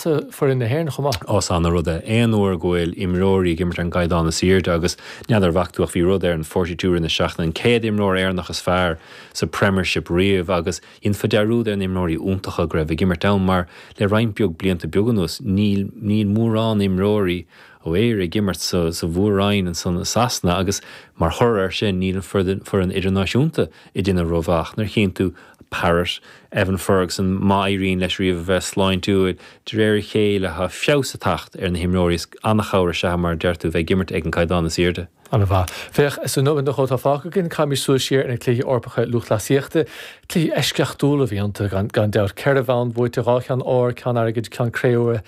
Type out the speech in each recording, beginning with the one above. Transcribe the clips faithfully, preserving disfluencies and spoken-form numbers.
maitheasa foireann na hÉireann chomh maith. Ó is an-rud é. Aon uair go bhfuil imreoirí ag imirt ar an gcaighdeán is airde agus n'fheadar an bhfaca tú ach bhí rud ar an forty two i rith na seachtaine, an céad imreoir Éireannach is fearr sa Premiership riamh agus dhéanfá dearúd ar na himreoirí iontacha go raibh ag imirt ann mar le roinnt beag blianta beaga anuas níl níl mórán imreoirí ó Éire ag imirt sa sa mhór-roinn ansan i Sasana agus mar thoradh air sin níl an foireann idirnáisiúnta ag déanamh rómhaith. Nuair a chíonn tú Parrott, Evan Ferguson, má éiríonn leis riamh a bheith sláintiúil, de réir a chéile tá feabhas ag teacht ar na himreoirí is an-chabhair is ea mar a deir tú bheith ag imirt ag an gcaighdeán is airde. An-mhaith. Féach, sa nóiméad nó dhó atá fágtha againn, caithfimid súil siar ar na Cluichí Eorpacha Lúthchleasaíochta. Cluichí eisceachtúla a bhí iontu, gan dabht. Ceithre bhonn buaite, dhá cheann óir, ceann airgid, ceann cré-umha.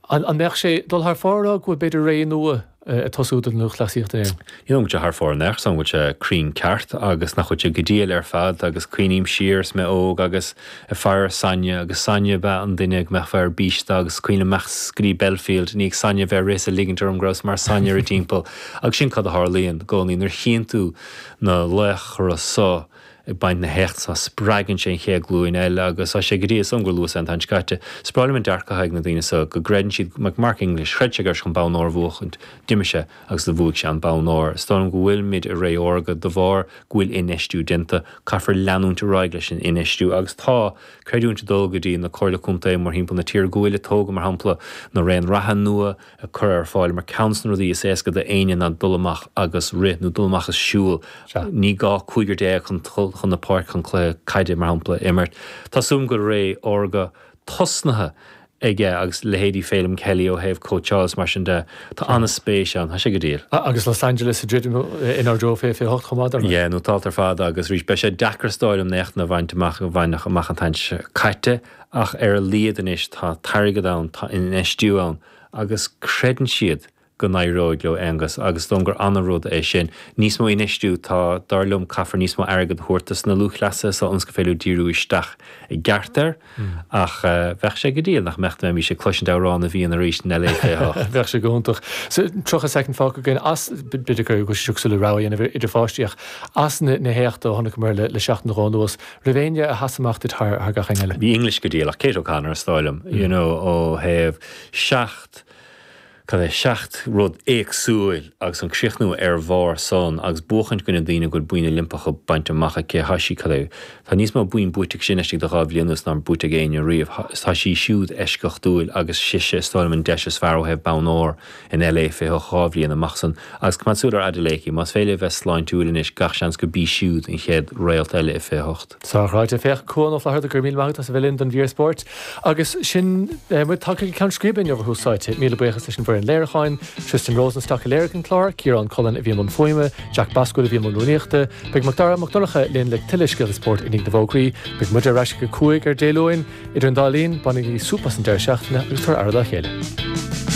An mbeadh sé dul thar fóir a rá go bhfuil b'fhéidir ré nua ag tosú don lúthchleasaíocht in Éirinn? Ní dóigh liom go bhfuil sé thar fóir in aon chor, go bhfuil sé cruinn ceart agus nach bhfuil sé go diail ar fad agus cuimhním siar is mé óg agus ag faire Sonia agus Sonia ab ea an duine go mbeifeá ar bís de agus cuimhin liom imeacht go dtí Belfield i ndiaidh Sonia bheith ag rith is ag ligint orm go rabhas mar Sonia ar a dtimpeall agus sin cad a tharlaíonn i gcónaí nuair a chíonn tú na laochra so ag baint na héachta spreagann sé an chéad ghlúin eile agus tá sé go dtí is dóigh liom gur luas é an t-am seo caite. Is breá liom an dearcadh atá ag na daoine seo go gcreideann siad, like Mark English, chreid sé go raibh sé chun bonn óir a bhuachaint, d'imir sé agus do bhuaigh sé an bonn óir. Is dóigh liom go bhfuilimid i ré órga de bharr go bhfuil infheistiú déanta, caithfear leanúint ar aghaidh leis an infheistiú agus tá creidiúint ag dul go dtí na Comhairle Contae mórthimpeall na tíre go bhfuil ag tógáil mar shampla na raon reatha nua, a cur ar fáil mar ceann de na rudaí is éasca d'éinne ná dul amach agus rith nó dul amach is siúl. Ní gá cúigear déag chun dul chun na páirce chun cluiche caide, mar shampla, a imirt. Tá súil agam go bhfuil ré órga tosnaithe aige agus leithéidí Feidhlim Kelly ó thaobh cóitseáil is mar sin de. Tá an-spéis ann. Tá sé go diail. Agus Los Angeles ag druidim inár dtreo fiche fiche hocht chomh maith, dar ndóigh. Yeah, nótálta ar fad agus arís beidh sé deacair is dóigh liom na héachtanna a bhaint amach a baineadh amach an t-am seo caite ach ar a laghad anois tá t-airgead ann, tá infheistiú ann. agus creideann siad go n-éireoidh leo Aonghus agus is dóigh liom gur ana-rud é sin. Níos mó infheistiú, tá, dar liom, caithfear níos mó airgead a thabhairt dos na lúthchleasaithe so ionas gur féidir leo díriú isteach i gceart air ach bheadh sé go diail nach mbeadh dá mbeimis ag cloisint Amhrán na bhFiann arís in LA fiche hocht. Bheadh sé go hiontach. So tríocha soicind fágtha againn as, b'fhéidir go bhfuil sé cosúil le rogha a dhéanamh idir pháistí ach as na héachtaí a chonaiceamar le seachtain nó dhó anuas, raibh éinne a sheas amach duit thar gach éinne eile? Bhí English go diail ach Kate O'Connor is dóigh liom, you know, ó thaobh seacht, cad é, seacht rud éagsúil agus an críochnú ar bharr san agus buachaint i gcoinne daoine go bhfuil boinn Oilimpeacha bainte amach aici, tá sí, cad é, tá níos mó boinn buaite aici sin laistigh de dhá bhliain anuas ná buaite ag éinne riamh. Tá sí siúd eisceachtúil agus sise is dóigh liom an deis is fearr ó thaobh bonn óir in LA fiche hocht dhá bhliain amach san agus coimeád súil ar Adeleke, más féidir léi a bheith sláintiúil anois gach seans go b'í siúd an chéad réalt eile i fiche hocht. Sár-ráite. Féach, Cuan Ó Flatharta, go raibh míle maith agat as a bheith linn don mhír spóirt. Agus sin muid tagtha go ceann scríbe inniu ar Thús Áite. Míle buíochas leis an bhfoireann léiriúcháin, Tristan Rosenstock a léirigh an clár, Ciarán Cullen a bhí i mbun fuaime, Jack Basquill a bhí i mbun rúnaíochta. Beidh Macdara Mac Donncha linn le tuilleadh scéalta spóirt i ndiaidh na bhfógraí. Beidh muid ar ais ag a cúig ar Dé Luain. Idir an dá linn, bainigí súp as an deireadh seachtaine agus tabhair aire dá chéile.